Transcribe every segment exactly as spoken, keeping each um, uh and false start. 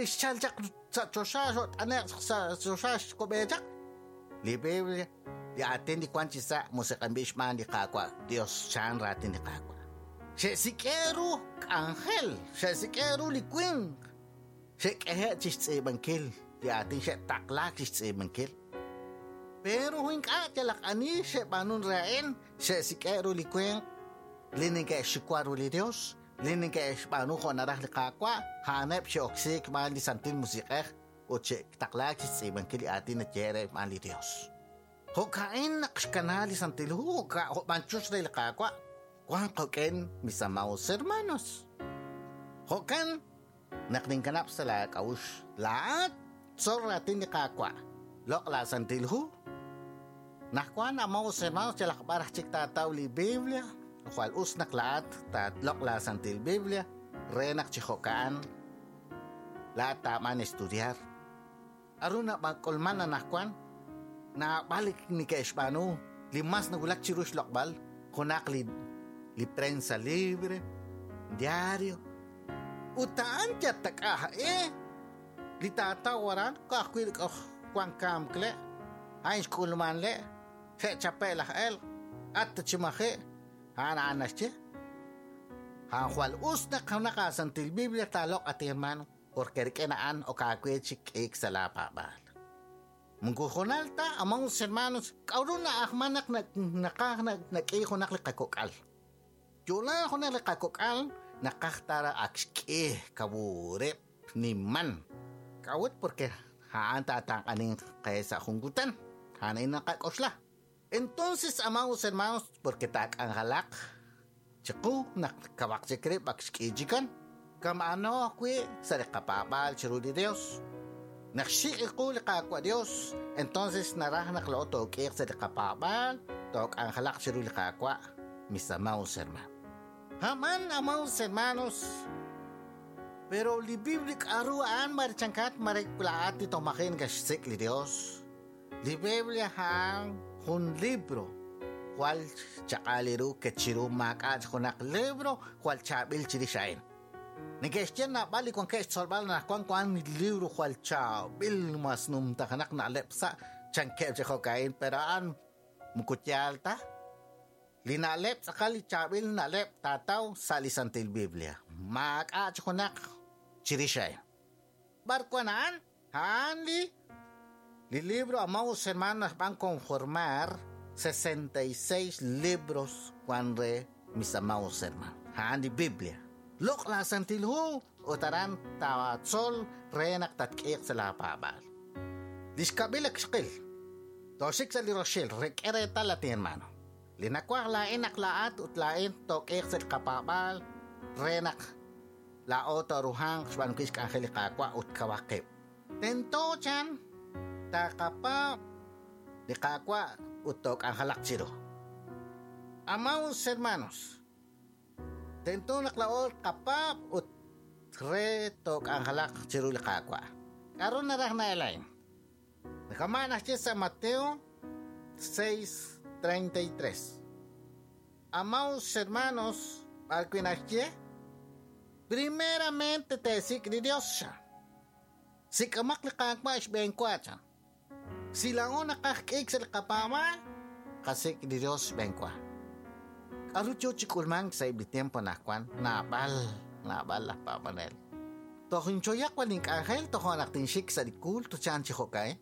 li xchal chaq sa' choxa xot'ane'q sa' choxa xkub'e chaq. Li Biblia li aatin li wan chi sa' musiq'anb'il xb'aan li Qaawa' Dios chan raatin li Qaawa'. Xe'sik'e ru k'anjel, xe'sik'e ru li winq, xe'k'ehe' chi xtz'iib'ankil li aatin xe'taqlaak chi xtz'iib'ankil. Pero ink'a' yalaq ani xe'b'aanun re a'in, xe'sik'e ru li winq li neke'xxuwa ru li Dios, li neke'xb'aanu jo' naraj li Qaawa', a'aneb' xe'oksiik xb'aan li Santil Musiq'ej ut xe'taqlaak chi xtz'iib'ankil li aatin nayehe' re xb'aan li Dios. Jo'ka'in naq xkana li Santil Hu, jo'b'anchux re li Qaawa', wan qok'en mis amados hermanos. Jo'kan naq ninkanab' sa' la k'a'uxl, laa'at tzol raatin li Qaawa', loq' la Santil Hu. Naq wan amados hermanos yalaq b'ar aj chik taataw li Biblia, jwal us naq laa'at taatloq' la Santil Biblia re naq chi jo'ka'an laa'at taab'an estudiar. Aru nab'ak'ulman anaqwan naab'al neke'xb'aanu li mas nawulak chiru xloq'b'al junaq li li prensa libre, diario. Ut a'an yatak'a eh li taataw aran ka'ajwi' li k'oj wan kamk le' a'in xk'ulman le' xe'chape' laj elq' at chi maji' a'an a'an naxye. A'an jwal us naq junaq aasantil Biblia taaloq' ati hermano porque rik'in a'an ok aawe chik k'iik sa' laapaab'aal. Moko junal ta amados hermanos k'a'ru na'ajman naq naqaj nak'i junaq li qakok'al. Yola junaq li qakok'al naqaj tara ak xk'ih kawureb' niman. K'a'ut porque a'an taataq'anin qe sa' jun kutan. A'an a'in naqak'oxla. Entonces, amados hermanos, porque taak'anjalaq chiqu naq kawaq chik rib' ak xk'ih chikan. Kama'ano ajwi' sa' li qapaab'aal chiru li Dios. Naq xiq'iqu li Qaawa' Dios, entonces naraj naq loo took'iiq sa' li qapaab'aal, took'anjalaq chiru li Qaawa', mis amados hermanos. Aman, amados hermanos, pero li Biblia k'aru a'an marichankat marikulaat ti tomajin kaxsik li Dios. Li Biblia a'an jun libro jwal chaq'al ru kechiru maak'a' junaq libro jwal chaab'il chirix a'in. Neke'xye naab'al li wankeb' xtzolb'al naq wan wan libro jwal chaab'il mas numtajanaq na'leb' sa' chankeb' chi jo'ka'in, pero a'an moko yaal ta. Li na'leb' tz'aqal li chaab'il na'leb' taataw sa' li Santil Biblia. Maak'a' chi junaq chirix a'in. B'ar wan a'an? A'an li li libro, amados hermanos, van conformar sesenta y seis libros wan re mis amados hermanos. A'an li Biblia. Loq' la Santil Hu ut aran taatzol re naq tatk'iiq sa' laapaab'aal. Li xkab'il ak xqil. Toxik sa' li roxil, rek'e reetal ati hermano. Li nakwaj laa'in naq laa'at ut laa'in took'iiq sa' li qapaab'aal re naq laa'o tooruhanq xb'aanunkil xk'anjel li Qaawa' ut kawaqib'. Tento chan taqapaab' li Qaawa' ut took'anjalaq chiru. Amados hermanos, tento naq laa'o qapaab' ut re took'anjalaq chiru li Qaawa'. K'aru naraj na'elain? Kama naxye sa' Mateo seis treinta y tres. Amados hermanos, b'arwi' naxye, primeramente teesik' li Dios. Sik'amaq li Qaawa' xb'een wa chan. Si laa'o naqaj k'iik sa' li qapaab'aal, qasik' li Dios xb'een wa. K'aru yo chi k'ulmank sa' eb' li tiempo anaqwan, naab'al, naab'al laj paab'anel. Toj inchoyaq wan ink'anjel tojo' naq tinxik sa' li culto chan chi jo'ka'in.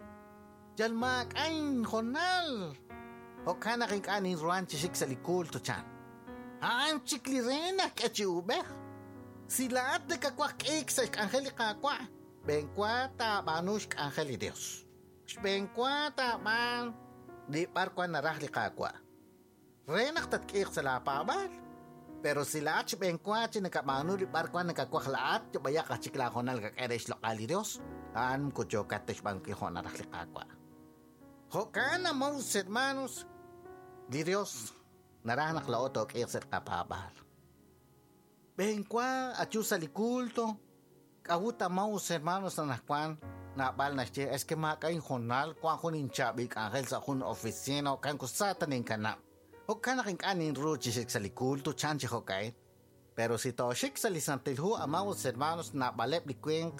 Yal maak'a' injonal. Jo'kan naq ink'a' ninruhan chi xik sa' li culto chan. A'an chik li re naq k'e chi ub'ej. Si laa'at nakawaj k'iik sa' xk'anjel li Qaawa', b'een wa taab'aanu xk'anjel li Dios. Xb'een wa taab'aan li b'ar wan naraj li Qaawa'. Re naq tatk'iiq sa' laapaab'aal. Pero si laa'at xb'een wa chi nakab'aanu li b'ar wan nakawaj laa'at, yob'ayaq aj chik laajonal kak'e re xloq'al li Dios, a'an moko yookat ta xb'aanunkil jo' naraj li Qaawa'. Jo'kan, amados hermanos, li Dios naraj naq laa'o took'iiq sa' li qapaab'aal. B'een wa ayu sa' li culto, k'a'ut amados hermanos anaqwan naab'al naxye, es que maak'a' injonal, wan jun inchaab'il k'anjel sa' jun oficina, jo'kan kusa ta ninkanab'. Jo'kan naq ink'a' ninru chi xik sa' li culto chan chi jo'ka'in. Pero si tooxik sa' li Santil Hu, amados hermanos, naab'aleb' li winq